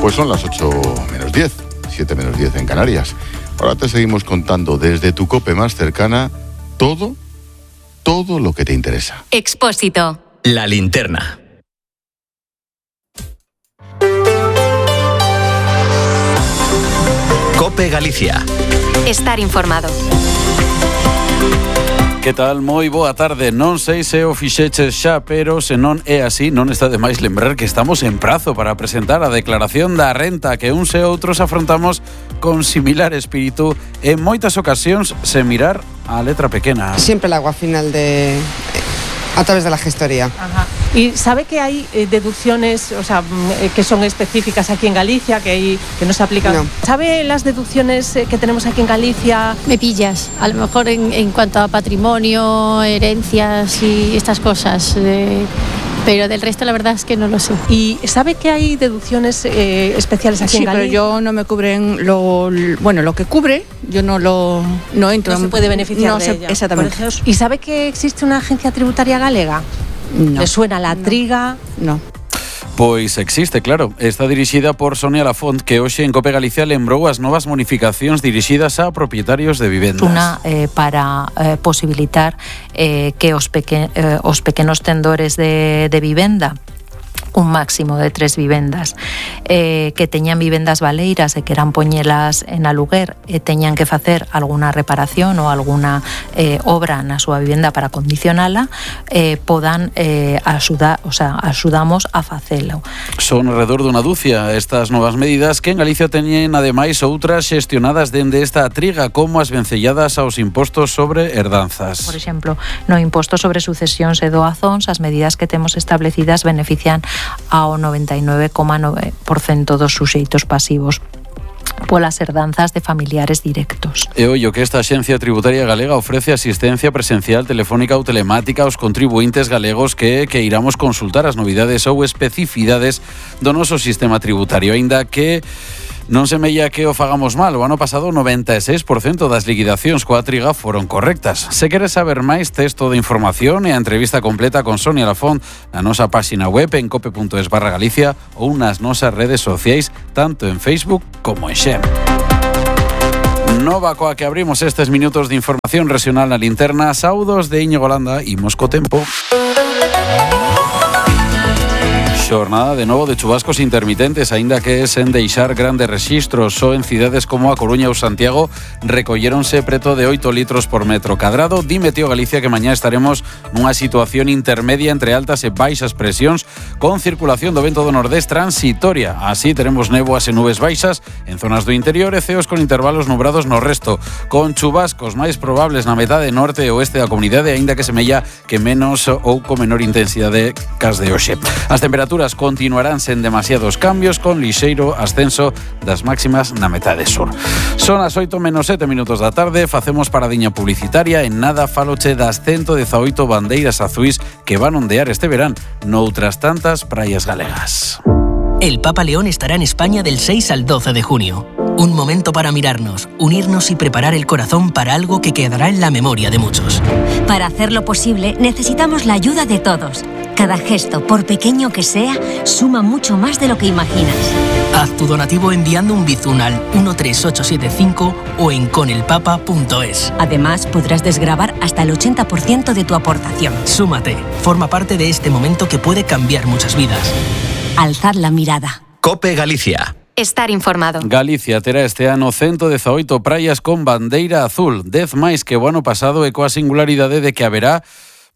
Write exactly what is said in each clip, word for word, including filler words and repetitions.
Pues son las ocho menos diez, siete menos diez en Canarias. Ahora te seguimos contando desde tu COPE más cercana todo, todo lo que te interesa. Expósito. La linterna. COPE Galicia. Estar informado. Que tal? Moi boa tarde. Non sei se o fixeches xa, pero se non é así, non está de máis lembrar que estamos en prazo para presentar a declaración da renta que uns e outros afrontamos con similar espírito en moitas ocasións sen mirar a letra pequena. Siempre el agua final de... a través de la gestoría. Ajá. ¿Y sabe que hay eh, deducciones, o sea, eh, que son específicas aquí en Galicia, que hay, que no se aplican? No. ¿Sabe las deducciones eh, que tenemos aquí en Galicia? Me pillas, a lo mejor en, en cuanto a patrimonio, herencias y estas cosas, eh, pero del resto la verdad es que no lo sé. ¿Y sabe que hay deducciones eh, especiales aquí sí, en Galicia? Sí, pero yo no me cubren lo, bueno, lo que cubre, yo no lo no entro. No se puede beneficiar no de se, ella. Exactamente. ¿Y sabe que existe una agencia tributaria galega? No. ¿Le suena la no. triga? No. Pois existe, claro. Está dirixida por Sonia Lafont, que hoxe en COPE Galicia lembrou as novas bonificacións dirixidas a propietarios de vivendas. Una eh, para eh, posibilitar eh, que os, peque, eh, os pequenos tendores de, de vivenda, un máximo de tres vivendas, eh, que teñan vivendas baleiras e que eran poñelas en aluguer e teñan que facer alguna reparación ou alguna eh, obra na súa vivenda para condicionala, eh, podan eh, axudar, o sea, axudamos a facelo. Son alrededor dunha dúcia estas novas medidas que en Galicia teñen ademais outras xestionadas dende esta triga, como as vencelladas aos impostos sobre herdanzas. Por exemplo, no imposto sobre sucesións e doazóns, as medidas que temos establecidas benefician ao noventa e nove coma nove por cento dos suxeitos pasivos polas herdanzas de familiares directos. E ollo que esta Axencia Tributaria Galega ofrece asistencia presencial, telefónica ou telemática aos contribuintes galegos que que iramos consultar as novidades ou especificidades do noso sistema tributario, aínda que non se mella que o fagamos mal. O ano pasado o noventa e seis por cento das liquidacións coa triga foron correctas. Se queres saber máis, texto de información e a entrevista completa con Sonia Lafont na nosa páxina web en cope punto es barra Galicia ou nas nosas redes sociais, tanto en Facebook como en Xem. Nova coa que abrimos estes minutos de información regional na linterna. Saudos de Íñigo Landa, imos co tempo. Xornada de novo de chubascos intermitentes, aínda que sen deixar grandes rexistros. Só en cidades como a Coruña ou Santiago recolléronse preto de oito litros por metro cadrado. Di Meteo Galicia que mañá estaremos nunha situación intermedia entre altas e baixas presións, con circulación do vento do nordés transitoria. Así teremos néboas e nubes baixas en zonas do interior e ceos con intervalos nubrados no resto, con chubascos máis probables na metade norte e oeste da comunidade, aínda que semella que menos ou con menor intensidade cas de hoxe. As temperaturas continuarán sen demasiados cambios, con lixeiro ascenso das máximas na metade sur. Son as oito menos sete minutos da tarde, facemos paradiña publicitaria. En nada faloche das ciento dezaoito bandeiras azuis que van ondear este verán noutras tantas praias galegas. El Papa León estará en España del seis al doce de junio. Un momento para mirarnos, unirnos y preparar el corazón para algo que quedará en la memoria de muchos. Para hacerlo posible, necesitamos la ayuda de todos. Cada gesto, por pequeño que sea, suma mucho más de lo que imaginas. Haz tu donativo enviando un bizun al uno tres ocho siete cinco o en conelpapa punto es. Además, podrás desgravar hasta el ochenta por ciento de tu aportación. Súmate, forma parte de este momento que puede cambiar muchas vidas. Alzad la mirada. COPE Galicia. Estar informado. Galicia terá este ano ciento dezaoito praias con bandeira azul, dez máis que o ano pasado, e coa singularidade de que haberá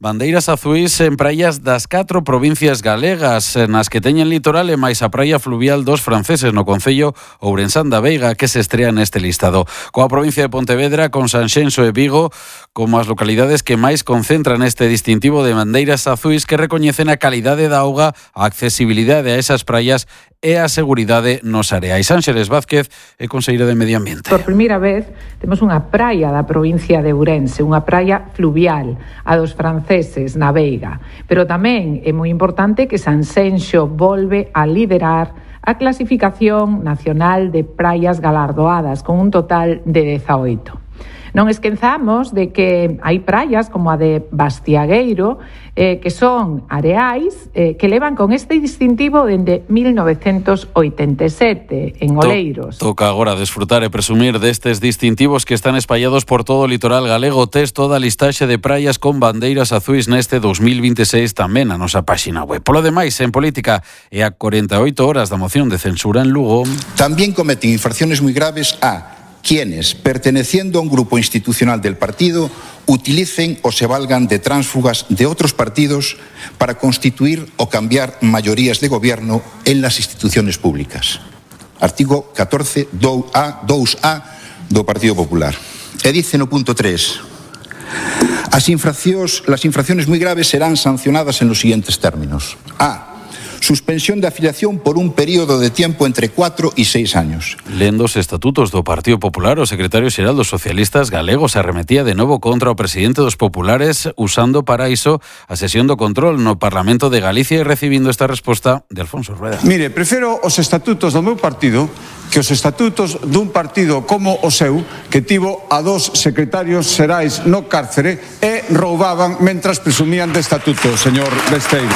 bandeiras azuis en praias das catro provincias galegas, nas que teñen litoral e máis a praia fluvial dos franceses no concello Ourensán da Veiga, que se estrea neste listado. Coa provincia de Pontevedra, con Sanxenxo e Vigo como as localidades que máis concentran este distintivo de bandeiras azuis, que recoñecen a calidade da auga, a accesibilidade a esas praias e a seguridade nos areais. Ángeles Vázquez é conselleira de Medio Ambiente. Por primeira vez temos unha praia da provincia de Ourense, unha praia fluvial, a dos franceses na Veiga. Pero tamén é moi importante que Sanxenxo volve a liderar a clasificación nacional de praias galardoadas, con un total de dezaoito. Non esquezamos de que hai praias como a de Bastiagueiro, eh, que son areais, eh, que levan con este distintivo dende mil novecentos oitenta e sete, en Oleiros. To, toca agora desfrutar e presumir destes distintivos que están espallados por todo o litoral galego. Tes toda a listaxe de praias con bandeiras azuis neste dos mil veintiséis tamén na nosa páxina web. Polo demais, en política, e a corenta e oito horas da moción de censura en Lugo. También cometen infracciones muy graves a quienes, perteneciendo a un grupo institucional del partido, utilicen o se valgan de tránsfugas de otros partidos para constituir o cambiar mayorías de gobierno en las instituciones públicas. Artigo catorce dos A do Partido Popular. E dice no punto tres: As infraccións, las infracciones muy graves serán sancionadas en los siguientes términos. A. Suspensión de afiliación por un período de tiempo entre cuatro e seis años. Lendo os estatutos do Partido Popular, o secretario xeral dos socialistas galegos arremetía de novo contra o presidente dos populares usando para iso a sesión do control no Parlamento de Galicia e recibindo esta resposta de Alfonso Rueda. Mire, prefiro os estatutos do meu partido que os estatutos dun partido como o seu, que tivo a dos secretarios xerais no cárcere e roubaban mentras presumían de estatuto, señor Besteiro.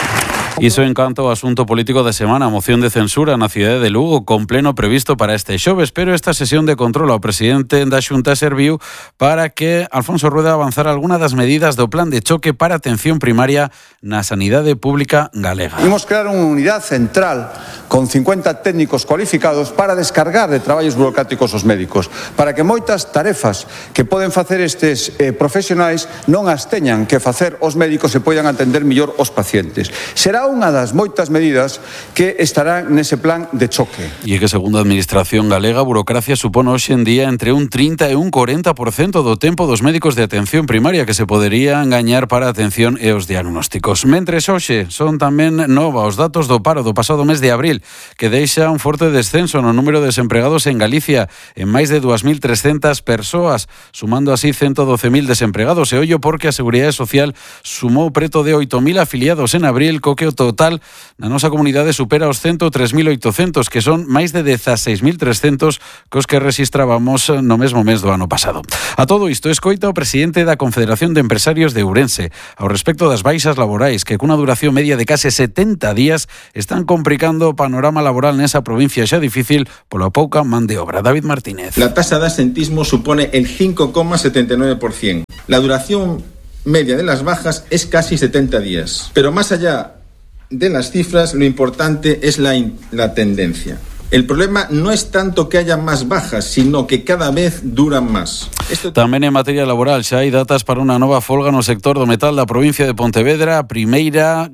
Iso en canto ao asunto político de semana, a moción de censura na cidade de Lugo con pleno previsto para este xoves, pero esta sesión de control ao presidente da Xunta serviu para que Alfonso Rueda avanzara algunha das medidas do plan de choque para atención primaria na sanidade pública galega. Imos crear unha unidade central con cincuenta técnicos cualificados para descargar de traballos burocráticos os médicos, para que moitas tarefas que poden facer estes eh, profesionais non as teñan que facer os médicos e poidan atender mellor os pacientes. Será unha das moitas medidas que estarán nese plan de choque. E que, segundo a Administración galega, a burocracia supón hoxe en día entre un trinta e un corenta por cento do tempo dos médicos de atención primaria que se poderían gañar para a atención e os diagnósticos. Mentres hoxe son tamén nova os datos do paro do pasado mes de abril, que deixa un forte descenso no número de desempregados en Galicia en máis de dúas mil trescentas persoas, sumando así ciento doce mil desempregados. E ollo porque a Seguridade Social sumou preto de oito mil afiliados en abril, co que o total na nosa comunidade supera os ciento tres mil oitocentos, que son máis de dezaseis mil trescentos cos que rexistrábamos no mesmo mes do ano pasado. A todo isto, escoita o presidente da Confederación de Empresarios de Ourense ao respecto das baixas laborais, que cunha duración media de case setenta días están complicando o panorama laboral nesa provincia xa difícil pola pouca man de obra. David Martínez. La tasa de asentismo supone el cinco coma setenta y nueve por ciento. La duración media de las bajas es casi setenta días. Pero más allá de las cifras, lo importante es la, in- la tendencia. El problema no es tanto que haya más bajas, sino que cada vez duran más. Esto... Tamén en materia laboral xa hai datas para unha nova folga no sector do metal da provincia de Pontevedra, a primeira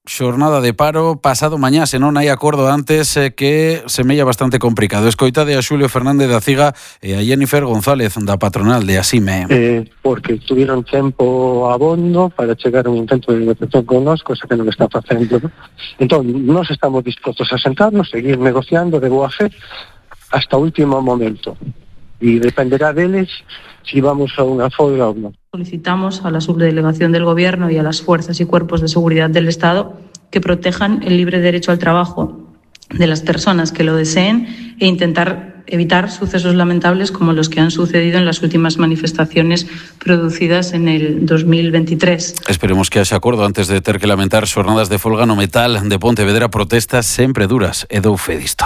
xornada de paro pasado mañá, se non hai acordo antes, eh, que semella bastante complicado. Escoitade a Xulio Fernández da Ciga e a Jennifer González da patronal de Asime. Eh, porque tuvieron tempo abondo para chegar a un intento de negociación con nós, cosa que non está facendo, ¿no? Entón, nós estamos dispostos a sentarnos, seguir negociando de boa fe hasta o último momento. Y dependerá deles si vamos a una folga o no. Solicitamos a la subdelegación del Gobierno y a las fuerzas y cuerpos de seguridad del Estado que protejan el libre derecho al trabajo de las personas que lo deseen e intentar evitar sucesos lamentables como los que han sucedido en las últimas manifestaciones producidas en el dos mil veintitrés. Esperemos que haxa acordo antes de ter que lamentar xornadas de folga no metal de Pontevedra, protestas sempre duras e dou fe disto.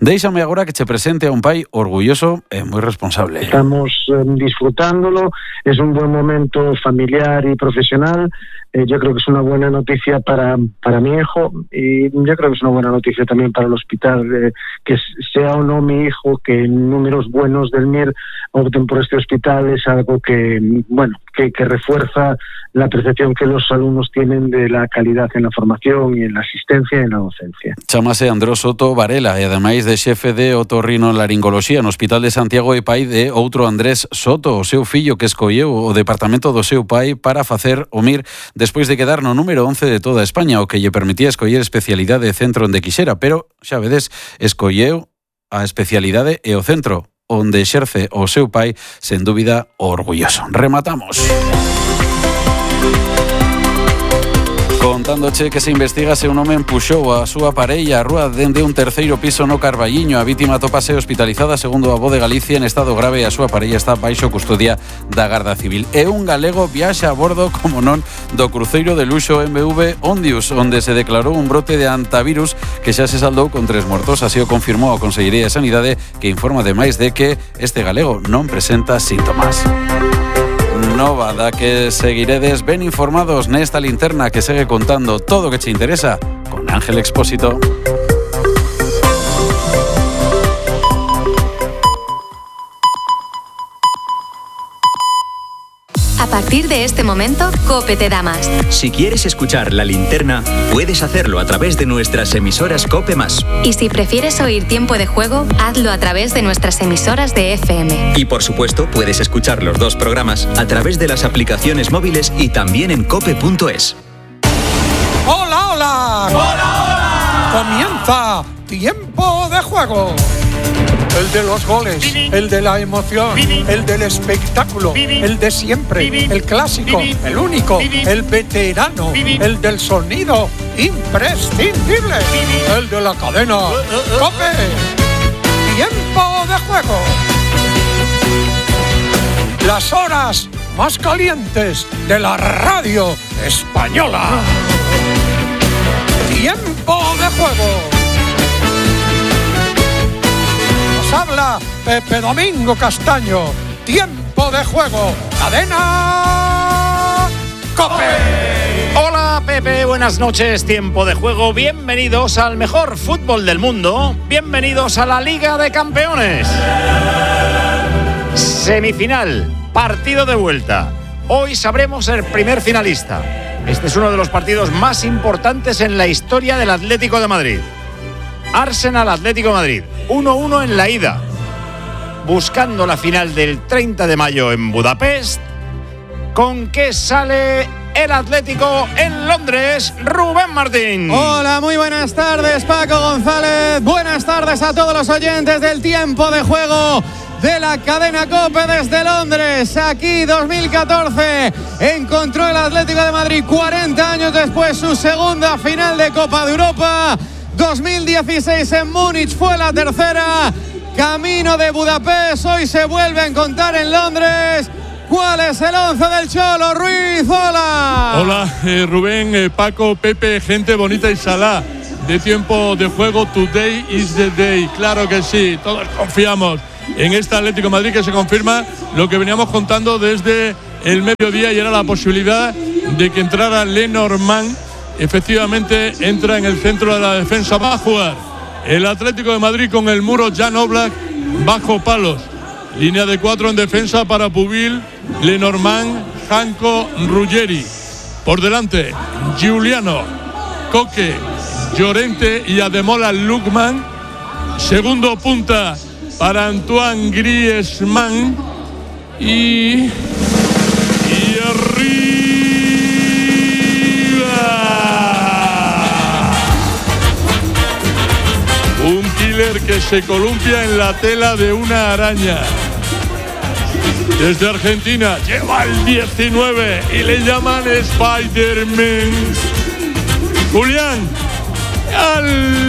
Déixame agora que che presente a un pai orgulloso e moi responsable. Estamos eh, disfrutándolo, es un buen momento familiar y profesional. Eh, yo creo que es una buena noticia para, para mi hijo y yo creo que es una buena noticia también para el hospital, eh, que sea o no mi hijo, que números buenos del M I R opten por este hospital es algo que, bueno, que, que refuerza la percepción que los alumnos tienen de la calidad en la formación y en la asistencia y en la docencia. Chámase Andrés Soto Varela e ademais de xefe de otorrinolaringoloxía no Hospital de Santiago e pai de outro Andrés Soto, o seu fillo que escolleu o departamento do seu pai para facer o M I R despois de quedar no número once de toda España, o que lle permitía escoller especialidade de centro onde quixera, pero, xa vedes, escolleu a especialidade e o centro onde exerce o seu pai, sen dúbida, orgulloso. Rematamos. Contándoche que se investiga se un home empuxou a súa parella a rúa dende un terceiro piso no Carballiño. A vítima topase hospitalizada segundo a Voz de Galicia en estado grave e a súa parella está baixo custodia da Garda Civil. E un galego viaxa a bordo, como non, do cruceiro de luxo M V Ondius, onde se declarou un brote de antivirus que xa se saldou con tres mortos. Así o confirmou a Consellería de Sanidade, que informa ademais de que este galego non presenta síntomas. Nova da que seguiredes ben informados nesta linterna que segue contando todo o que che interesa con Ángel Expósito. A partir de este momento, COPE te da más. Si quieres escuchar La Linterna, puedes hacerlo a través de nuestras emisoras COPE más. Y si prefieres oír Tiempo de Juego, hazlo a través de nuestras emisoras de F M. Y por supuesto, puedes escuchar los dos programas a través de las aplicaciones móviles y también en cope punto es. ¡Hola, hola! ¡Hola, hola! Comienza Tiempo de Juego. El de los goles, el de la emoción, el del espectáculo, el de siempre, el clásico, el único, el veterano, el del sonido imprescindible, el de la cadena COPE. Tiempo de Juego. Las horas más calientes de la radio española. Tiempo de Juego. Habla Pepe Domingo Castaño. Tiempo de Juego. Cadena COPE. Hola Pepe, buenas noches. Tiempo de Juego. Bienvenidos al mejor fútbol del mundo. Bienvenidos a la Liga de Campeones. Semifinal, partido de vuelta. Hoy sabremos el primer finalista. Este es uno de los partidos más importantes en la historia del Atlético de Madrid. Arsenal Atlético de Madrid, uno uno en la ida, buscando la final del treinta de mayo en Budapest. ¿Con qué sale el Atlético en Londres? Rubén Martín. Hola, muy buenas tardes, Paco González. Buenas tardes a todos los oyentes del Tiempo de Juego de la cadena COPE desde Londres. Aquí dos mil catorce encontró el Atlético de Madrid cuarenta años después su segunda final de Copa de Europa. dos mil dieciséis en Múnich fue la tercera. Camino de Budapest, hoy se vuelve a encontrar en Londres. ¿Cuál es el once del Cholo? Ruiz, hola. Hola, eh, Rubén, eh, Paco, Pepe, gente bonita y salá de Tiempo de Juego. Today is the day. Claro que sí, todos confiamos en este Atlético de Madrid, que se confirma lo que veníamos contando desde el mediodía, y era la posibilidad de que entrara Lenormand. Efectivamente entra en el centro de la defensa. Va a jugar el Atlético de Madrid con el muro Jan Oblak bajo palos. Línea de cuatro en defensa para Pubil, Lenormand, Janko, Ruggeri. Por delante, Giuliano, Coque, Llorente y Ademola Lookman. Segundo punta para Antoine Griezmann. Y... Y arriba... un killer que se columpia en la tela de una araña. Desde Argentina lleva el diecinueve y le llaman Spider-Man. Julián Álvarez.